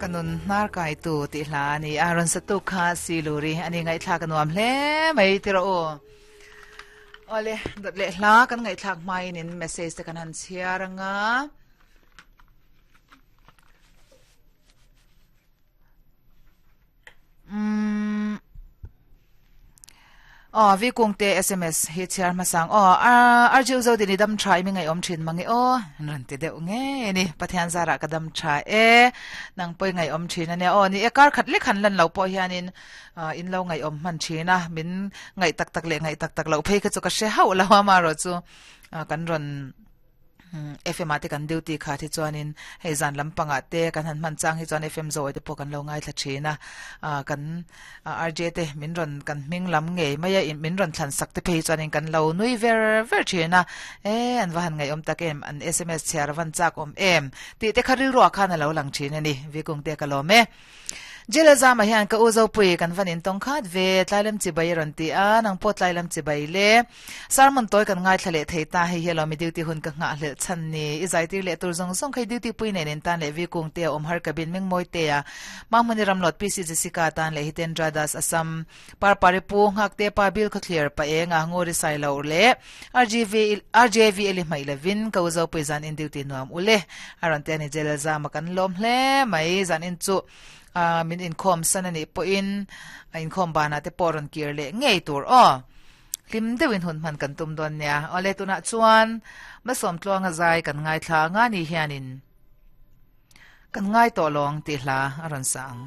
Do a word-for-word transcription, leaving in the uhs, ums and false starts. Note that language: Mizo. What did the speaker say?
Kanun nar kai tu ti hla ni aron satu kha siluri ani ngai thla ka nuam hle mai tiro o ole dot le hla kan ngai thlak mai in message te kan han chiaranga um oh vi kung te S M S hi chiar masang oh arju zo dini dam trai mi ngai om thin mangi o ran te deuh nge ni pathian zara ka dam tha e nang poi ngai om thin ania o ni e kar khat le khan lan lo po hianin in lo ngai om man thina min ngai tak tak le ngai tak tak lo phei kha chu ka she hau lo ma ro chu kan ron F M ate kan duty kha thi chuanin hei zan lampanga te kan han man chang hi chuan F M zo te pawh kan lo ngai thla thina kan R J te min ron kan hming lam ngei maya in min ron thlan sak te phei chuanin kan lo nui ver ver thina e an va han ngai om tak em an S M S chhiar van chak om em ti te kharil ro khan a lo lang thina ni vikung te ka lo me jela zama hian ka uzo pui kan vanin tong khat ve tlailam chi bai ron ti a nang po tlailam chi bai le sarmon toy kan ngai thlale theita hei hello mi duty hun ka nga hle chan ni i zai tir le tur zong zong khai duty pui ne nen tan le vi kung te om har kabin ming moi te a mamuni ramlot P C Jessica tan le Hitendra Das Assam par pare pu ngak te pa bil kha clear pa e nga ngori sai lo le R G V R J V eli mai levin ka uzo pui zan in duty nuam ule aron te ni jela zama kan lom hle mai zan in chu min in khom sanani po in in khom bana te poron kir le ngei tur o lim dewin hun man kan tum don nia ole tuna chuan masom tluanga zai kan ngai thla nga ni hianin kan ngai to long ti hla aron sang.